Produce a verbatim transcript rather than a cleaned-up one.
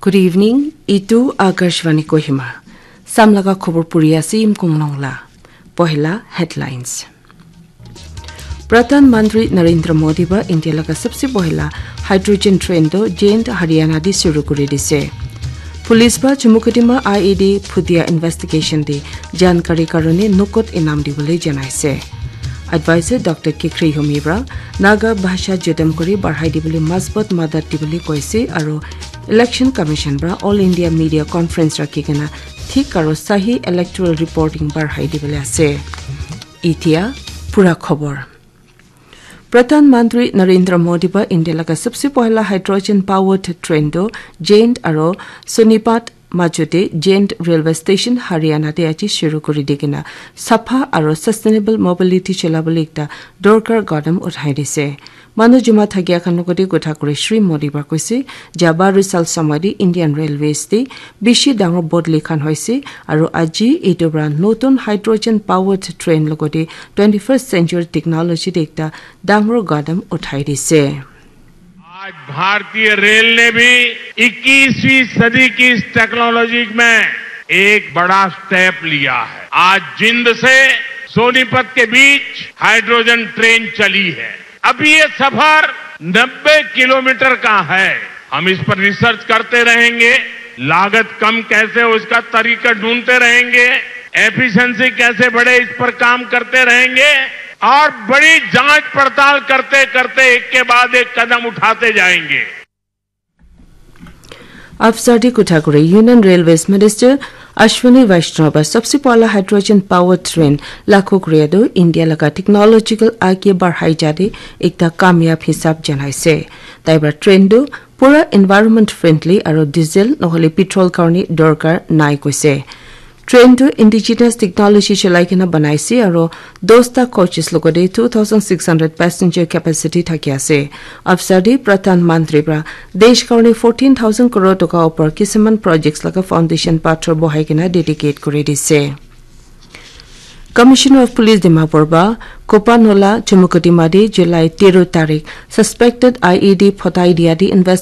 Good evening. Itu Akashvani Kohima. Samlaga khobor puri ase Imkung Nongla. Pohila headlines. Pradhan Mantri Narendra Modi ba India laga sabse pohila hydrogen train to Jaind Haryana di shuru kuri dise. Police ba Chumukedima I E D phutia investigation di jankari karone nukot inam dibole janaise. Advisor Doctor Kikhri Humibra Naga Bhasha Jodam Kuri Barhai Dibuli Masbot Madat Dibuli Koise Aro Election Commission Bra All India Media Conference Rakikena Thik Aro Sahi Electoral Reporting Barhai Dibuli Ase. Itia Pura Khobor. Pradhan Mantri Narendra Modi ba India laga sabse pohla hydrogen powered train do Jaind aro Sonipat Majute Jaind Railway Station Haryana te aji shuru kuri dikena sapha aro sustainable mobility cholabole ekta dorkar gadam uthai dise. Manu juma thakia khan logode kotha kuri Shri Modi ba koise, ja baru sal samadi Indian Railways te bishi dangor bodli khan hoise, aro aji etu pra notun hydrogen powered train logode twenty-first century technology te ekta dangor gadam uthai dise. आज भारतीय रेल ने भी इक्कीसवीं सदी की इस टेक्नोलॉजी में एक बड़ा स्टेप लिया है। आज जिंद से सोनीपत के बीच हाइड्रोजन ट्रेन चली है। अभी ये सफर नब्बे किलोमीटर का है। हम इस पर रिसर्च करते रहेंगे, लागत कम कैसे हो इसका तरीका ढूंढते रहेंगे, एफिशिएंसी कैसे बढ़े इस पर काम करते रहेंगे और बड़ी जांच पड़ताल करते करते एक के बाद एक कदम उठाते जाएंगे। Afsadi Kuthakure, Union Railways Minister Ashwini Vaishnaw ba sabse pala hydrogen powered train lakho kure do India laga technological aage barhai jade ekta kamyab hisab janaise. Tai ba train do pura environment friendly aro diesel nohole petrol karone dorkar nai koise. Train to indigenous technology cholai kena banaise aro dosta coaches logode two thousand six hundred passenger capacity thaki ase. Afsadi Pradhan Mantri pra desh karone fourteen thousand crore toka upor kisiman projects laga foundation pathor bohai kena dedicate kuri dise. Commissioner of Police Dimapur ba Kopanola Chumukedima de July tero tarik suspected I E D photai dia di investigation